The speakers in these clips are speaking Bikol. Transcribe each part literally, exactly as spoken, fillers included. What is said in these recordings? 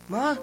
Ma,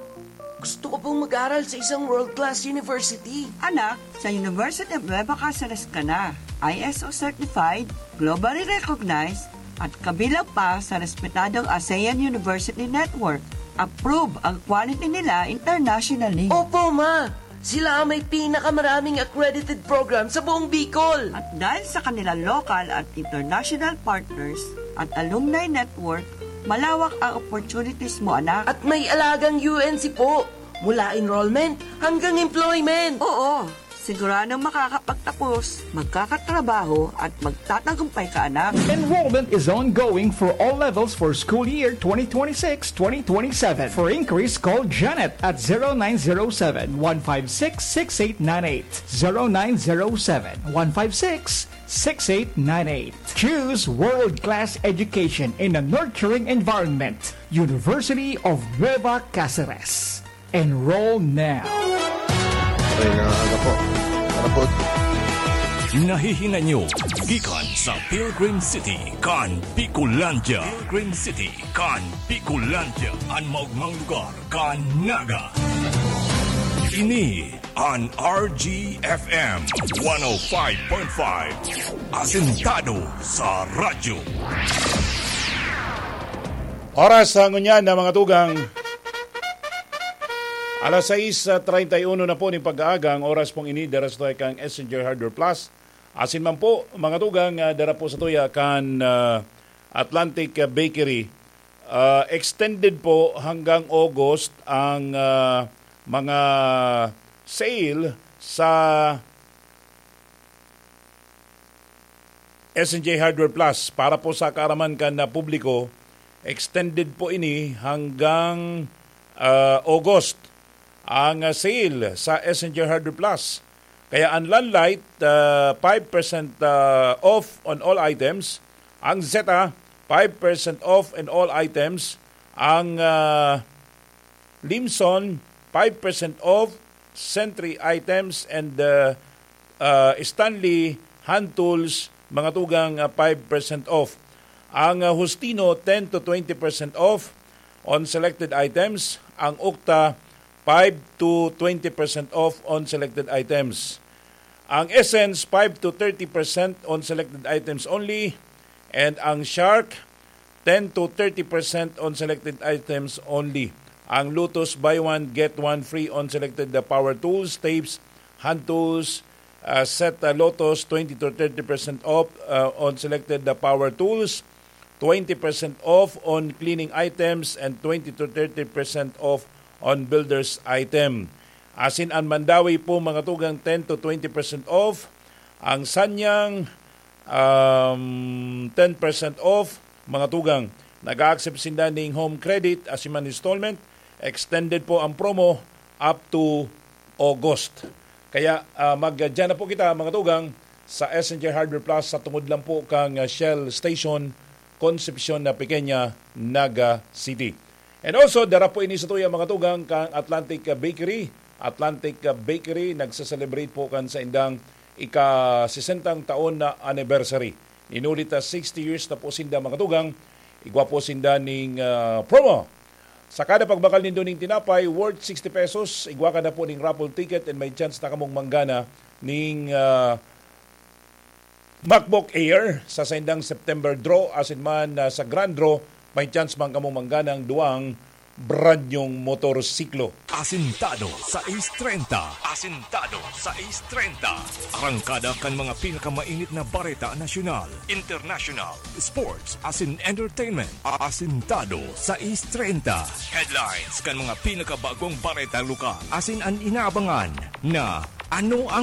gusto ko pong mag-aral sa isang world-class university. Anak, sa University of Nueva Caceres ka na. I S O certified, globally recognized, at kabilang pa sa respetadong ASEAN University Network. Approve ang quality nila internationally. Opo, ma! Sila ang may pinakamaraming accredited program sa buong Bicol. At dahil sa kanilang local at international partners at alumni network, malawak ang opportunities mo, anak. At may alagang U N C po, mula enrollment hanggang employment. Oo, siguradong makakapagtapos, magkakatrabaho at magtatagumpay ka, anak. Enrollment is ongoing for all levels for school year twenty twenty-six twenty twenty-seven. For inquiries, call Janet at zero nine zero seven, one five six, six eight nine eight. Zero nine zero seven, one five six, six eight nine eight. Choose world-class education in a nurturing environment. University of Nueva Caceres. Enroll now. Ay, nangangako. Parabot. Nahihingan nyo gikan sa Pilgrim City kan Bicolandia. Pilgrim City kan Bicolandia, an maogmang lugar kan Naga. Ini an R G F M one oh five point five, asentado sa radyo. Oras sa ngunyan na mga tugang. Alas sais treinta y uno na po nin pag-aaga, ang oras pong ini, dara sa tuya kan Messenger Hardware Plus. Asin man po, mga tugang, ah, dara po sa tuya kan, ah, Atlantic, ah, Bakery. Ah, extended po hanggang August ang, ah, mga sale sa S and J Hardware Plus. Para po sa kaaraman kan, ah, publiko, extended po ini hanggang, ah, August ang, ah, sale sa S and J Hardware Plus. Kaya ang Landlite, ah, five percent, ah, off on all items. Ang Zeta, five percent off in all items. Ang, ah, Limson, five percent off. Sentry items and, ah, ah, Stanley hand tools, mga tugang, ah, five percent off. Ang, ah, Justino, ten to twenty percent off on selected items. Ang Ukta, five to twenty percent off on selected items. Ang Essence, five to thirty percent on selected items only. And ang Shark, ten to thirty percent on selected items only. Ang Lotus, buy one, get one free on selected, the power tools, tapes, hand tools, uh, set, uh, Lotus, twenty to thirty percent off, uh, on selected, the power tools, twenty percent off on cleaning items, and twenty to thirty percent off on builder's item. Asin an Mandawi po, mga tugang, ten to twenty percent off. Ang Sanyang, um, ten percent off, mga tugang. Nag-a-accept sinda ning home credit, asin man installment. Extended po ang promo up to August. Kaya, ah, mag-, dyan na po kita, mga tugang, sa S and J Hardware Plus, sa tungod lang po kang, ah, Shell Station, Concepcion na Pequeña, Naga City. And also, dara po ini sa tuya, mga tugang, kang Atlantic, ah, Bakery. Atlantic, ah, Bakery, nagse-celebrate po kan saindang ika-sesentang taon na anniversary. Inulit na sixty years na po sinda, mga tugang. Igwa po sinda ning, ah, promo. Sa kada pagbakal nindo ning tinapay worth sixty pesos, igwa ka na po ning raffle ticket and may chance na kamong manggana ning, ah, MacBook Air sa saindang September draw, asin man, ah, sa grand draw, may chance man kamong manggana ang duwang brand nyong motorsiklo. Asintado sais treinta. Asintado sais treinta. Arangkada kan mga pinakamainit na bareta nasyonal, international, sports, asin entertainment. Asintado sais treinta. Headlines kan mga pinakabagong bareta lokal. Asin an inaabangan na ano ang